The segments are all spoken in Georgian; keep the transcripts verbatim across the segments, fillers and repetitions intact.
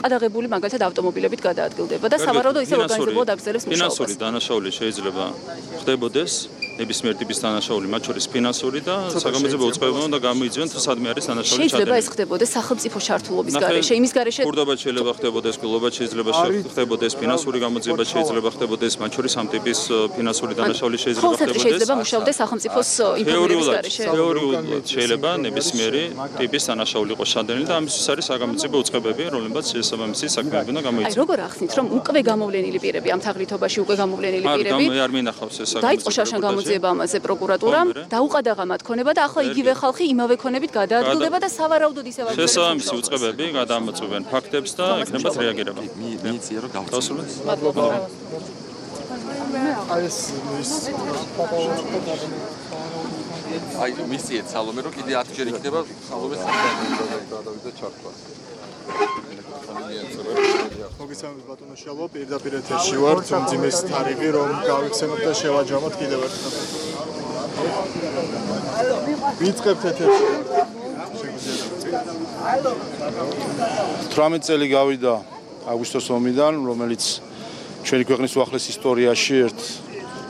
ყადაღებული მაგალითად ავტომობილებით გადაადგილდება და სავარაუდოდ ისე ორგანიზებულად აგრძელებს მუშაობას. ფინანსური დანაშაული შეიძლება ხდებოდეს ნებისმიერ ტიპის დანაშაული, მათ შორის ფინანსური და საგამოძიებო უწყებებმა უნდა გამოიძიონ სადმე არის დანაშაული ჩადენილი. შეიძლება ეს ხდებოდეს სახელმწიფო შართულობის გარეშე, იმის გარეშე ქურდობა შეიძლება ხდებოდეს, გლობა შეიძლება ხდებოდეს, ფინანსური გამოძიება შეიძლება ხდებოდეს, მათ შორის ამ ტიპის ფინანსური დანაშაული შეიძლება ხდებოდეს. შეიძლება მუშაობდეს სახელმწიფოს ინფორმირების გარეშე. თეორიულად შეიძლება ნებისმიერი ტიპის დანაშაული იყოს ჩადენილი და ამისთვის არის საგამოძიებო უწყებები, რომლებიც შესაბამისი საქმეები უნდა გამოიძიონ. აი როგორ ახსნით, რომ უკვე გამოვლენილი პირები ამ თაღლითობაში უკვე გამოვლენილი პირები არ მინახავს ეს დაიწყო შარშან გამოძიება ამაზე პროკურატურამ, დაუყადაღა მათ ქონება და ახლა იგივე ხალხი იმავე ქონებით გადაადგილდება და სავარაუდოდ ისევ აღწერს. შესაბამისი უწყებები გადაამოწმებენ ფაქტებს და ექნებათ რეაგირება. მიიწია რომ გავწევთ. მადლობა. აი ეს ის აი მისიეთ სალომე რომ კიდე ათი ჯერ იქნება სალომეს გადავიდა ჩართვა. მოგესალმებით ბატონო შალო, პირდაპირ ეთერში ვარ, ძიმის თარიღი რომ გავიხსენოთ და შევაჯამოთ კიდევ ერთხელ. ვიწყებთ ეთერში. თვრამეტ წელი გავიდა აგვისტოს ომიდან, რომელიც ჩვენი ქვეყნის უახლეს ისტორიაში ერთ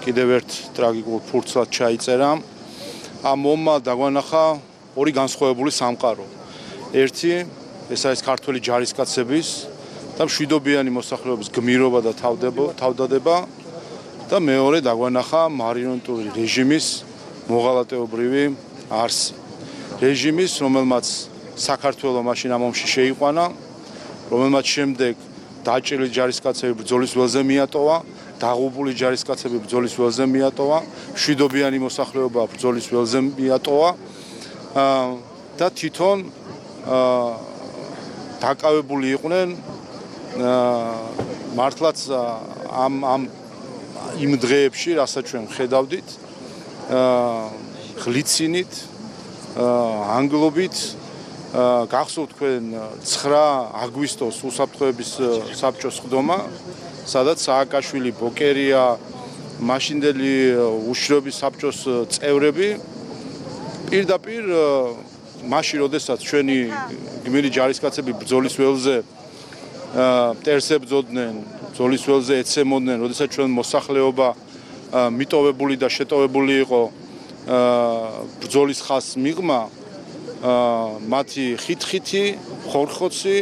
კიდევ ერთ ტრაგიკულ ფურცლად ჩაიწერა. ამ ომმა დაგვანახა ორი განსხვავებული სამყარო. ერთი ეს არის ქართველი ჯარისკაცების და მშვიდობიანი მოსახლეობის გმირობა და თავდადება და მეორე დაგვანახა მარიონეტული რეჟიმის მოღალატეობრივი არსი. რეჟიმის, რომელმაც საქართველო მაშინ ამ ომში შეიყვანა, რომელმაც შემდეგ დაჭრილი ჯარისკაცები ბრძოლის ველზე მიატოვა, დაღუპული ჯარისკაცები ბრძოლის ველზე მიატოვა, მშვიდობიანი მოსახლეობა ბრძოლის ველზე მიატოვა და თვითონ დაკავებული იყვნენ მართლაც ამ ამ იმ დღეებში, რასაც ჩვენ ხედავდით, ღლიცინით, ანგლობით, გახსოვთ თქვენ ცხრა აგვისტოს უსაფრთხოების საბჭოს ხდომა, სადაც სააკაშვილი, ბოკერია, მაშინდელი უშრობის საბჭოს წევრები პირდაპირ მაშინ, როდესაც ჩვენი გმირი ჯარისკაცები ბრძოლის ველზე მტერს ებრძოდნენ, ბრძოლის ველზე ეცემოდნენ, როდესაც ჩვენ მოსახლეობა მიტოვებული და შეტოვებული იყო ბრძოლის ხაზს მიღმა, მათი ხით-ხითი, ხორხოცი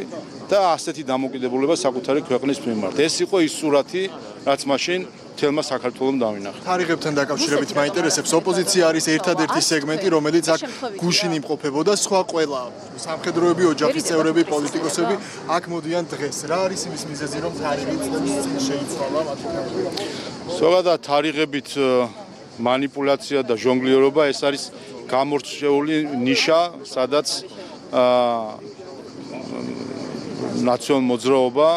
და ასეთი დამოკიდებულება საკუთარი ქვეყნის მიმართ. ეს იყო ის სურათი, რაც მაშინ თელმა საქართველოს დავინახა. თარიღებთან დაკავშირებით მაინტერესებს, ოპოზიცია არის ერთადერთი სეგმენტი, რომელიც აქ გუშინ იმყოფებოდა, სხვა ყველა სამხედროები, ოჯახის წევრები, პოლიტიკოსები აქ მოდიან დღეს. რა არის იმის მიზეზი, რომ თარიღი წინ შეიცვალა მათი? ზოგადად თარიღებით манипуляция და ჟონგლიორობა ეს არის გამორჩეული ნიშა, სადაც ნაციონალ მოძრაობა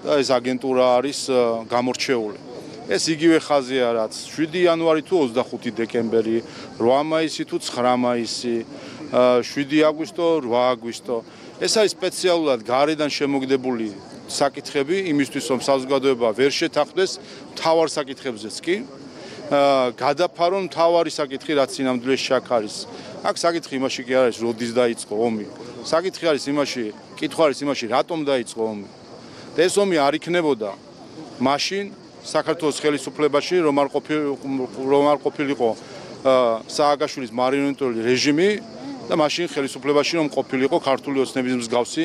და ეს აგენტურა არის გამორჩეული. ეს იგივე ხაზია, რაც შვიდი იანვარი თუ ოცდახუთი დეკემბერი, რვა მაისი თუ ცხრა მაისი, შვიდი აგვისტო, რვა აგვისტო. ეს არის სპეციალურად გარედან შემოგდებული საკითხები, იმისთვის რომ საზოგადოება ვერ შეთანხმდეს მთავარ საკითხებზეც კი. გადაფარონ მთავარი საკითხი, რაც სინამდვილეში აქ არის. აქ საკითხი იმაში კი არის, როდის დაიწყო ომი. საკითხი არის იმაში, კითხვა არის იმაში, რატომ დაიწყო ომი. და ეს ომი არ იქნებოდა მაშინ საქართველოს ხელისუფლებაში, რომ არ ყოფილ რომ არ ყოფილიყო სააკაშვილის მარიონეტული რეჟიმი და მაშინ ხელისუფლებაში რომ ყოფილიყო ქართული ოცნების მსგავსი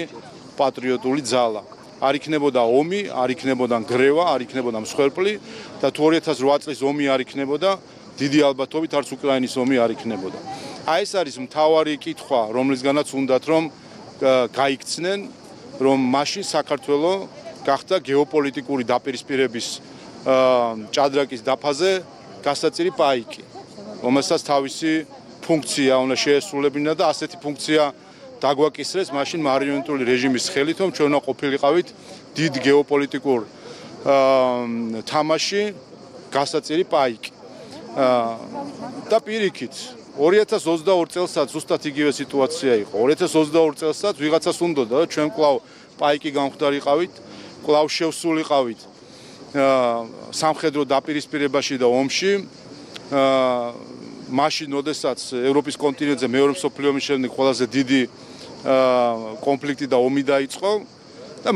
პატრიოტული ძალა. არ იქნებოდა ომი, არ იქნებოდა გრევა, არ იქნებოდა მსხვერპლი და თუ ორი ათას რვა წლის ომი არ იქნებოდა, დიდი ალბათობით არც უკრაინის ომი არ იქნებოდა. აი ეს არის მთავარი კითხვა, რომლისგანაც უნდათ რომ გაიქცნენ, რომ მაშინ საქართველო გახდა გეოპოლიტიკური დაპირისპირების ჭადრაკის დაფაზე გასაწირი პაიკი, რომელსაც თავისი ფუნქცია უნდა შეესრულებინა და ასეთი ფუნქცია დაგვაკისრეს მაშინ მარიონეტული რეჟიმის ხელით, რომ ჩვენ უნდა ყოფილიყავით დიდ გეოპოლიტიკურ თამაში გასაწირი პაიკი. და პირიქით, ორი ათას ოცდაორი წელსაც ზუსტად იგივე სიტუაცია იყო. ორი ათას ოცდაორი წელსაც ვიღაცას უნდოდა, რომ ჩვენ კვლავ პაიკი გამხდარიყავით, კვლავ შევსულიყავით სამხედრო დაპირისპირებაში და ომში. მაშინ, როდესაც ევროპის კონტინენტზე მეორე მსოფლიო ომის შემდეგ ყველაზე დიდი კონფლიქტი და ომი დაიწყო და